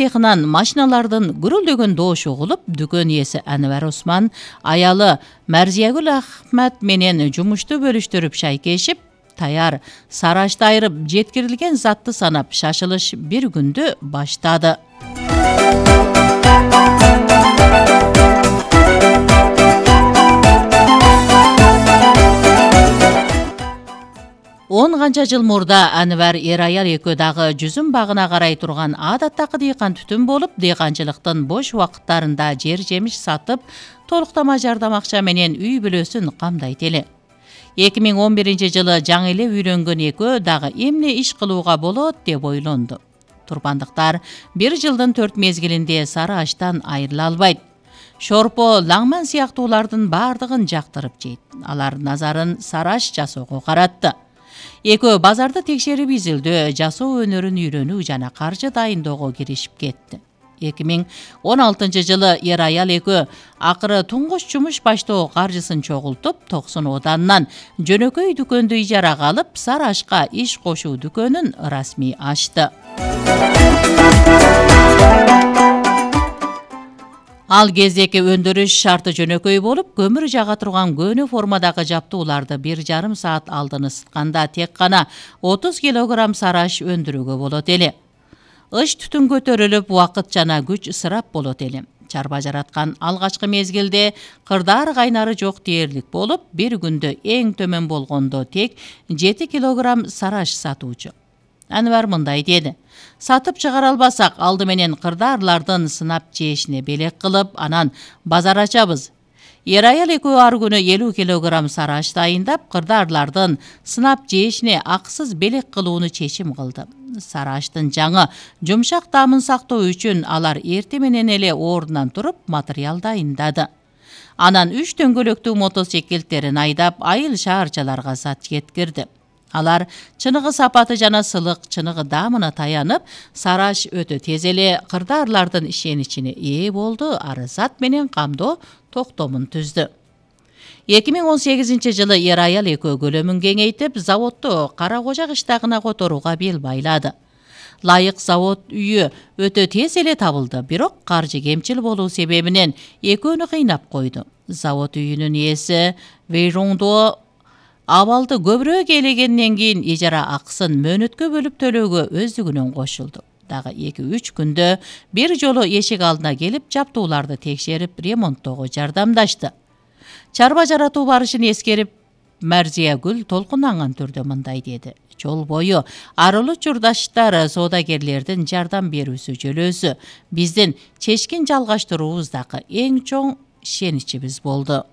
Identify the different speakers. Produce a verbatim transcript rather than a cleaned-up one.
Speaker 1: Цехынан машиналардын гүрүлдөгөн доошу угулуп, дүкөн ээси Анвар Осман аялы Марзиягүл Ахмат менен жумушту бөлүштүрүп шайкешип, таяр сарашты айырып жеткирилген затты санап шашылыш бир күндү баштады. Он канча жыл мурда Анвар эр аял экөө дагы жүзүм багына карай турган адаттагы дыйкан түтүн болуп, дыйканчылыктын бош убакыттарында жер жемиш сатып, толуктама жардам акча менен үй бүлөсүн камдайт эле. эки миң он биринчи жылы жаңы эле үйлөнгөн экөө дагы эмне иш кылууга болот деп ойлонду. Турпандыктар бир жылдын төрт мезгилинде сары аштан айрыла албайт. Шорпо, лаңман сыяктуулардын бардыгын жактырып жейт. Алар назарын сары аш жасоого каратты. Экөө базарды текшерип изилдөө, жасоо өнөрүн үйрөнүү жана каржы дайындоого киришип кетти. эки миң он алтынчы жылы эр аял экөө акыры туңгуч жумуш баштоо каржысын чогултуп, токсон оданнан жөнөкөй дүкөндү ижарага алып, сары ашка иш кошуу дүкөнүн расмий ачты. Ал кездеки өндүрүш шарты жөнөкөй болуп, көмүр жага турган көөнө формадагы жаптууларды бир жарым саат алдын ысытканда тек гана отуз килограмм сары аш өндүрүүгө болот эле. Ыш түтүн көтөрүлүп, убакыт жана күч ысырап болот эле. Чарба жараткан алгачкы мезгилде кырдар кайнары жок дээрлик болуп, бир күндө эң төмөн болгондо тек жети килограмм сары аш сатуучу. Анвар мындай деди: сатып чыгара албасак, алды менен кырдаарлардын сынап жешине белек кылып, анан базар ачабыз. Эр аял экөө ар күнү элүү килограмм сары аш дайындап, кырдаарлардын сынап жешине акысыз белек кылууну чечим кылды. Сары аштын жаңы жумшак таамын сактоо үчүн алар эрте менен эле ордунан туруп материал дайындады. Анан үч дөңгөлөктүү мотоциклтерин айдап, айыл шаарчаларга зат жеткирди. Алар чыныгы сапаты жана сылык чыныгы даамына таянып, сары аш өтө тез эле кырдаарлардын ишеничине ээ болду, ары зат менен камдоо токтомун түздү. эки миң он сегизинчи жылы эр аял экөө көлөмүн кеңейтип, заводду Кара Кожа кыштагына которууга бел байлады. Лайык завод үйү өтө тез эле табылды, бирок каржы кемчил болуу себебинен экөөнү кыйнап койду. Завод үйүнүн ээси Вейроңдо абалды көбүрөөк ээлегенден кийин ижара акысын мөөнөткө бөлүп төлөөгө өздүгүнөн кошулду. Дагы эки үч күндө бир жолу эшик алдына келип, жаптууларды текшерип, ремонттоого жардамдашты. Чарба жаратуу барышын эскерип, Марзиягүл толкунанган түрдө мындай деди: жол бою арылуу журдаштар, соодагерлердин жардам берүүсү жөлөөсү биздин чечкин жалгаштыруубуздагы эң чоң ишеничибиз болду.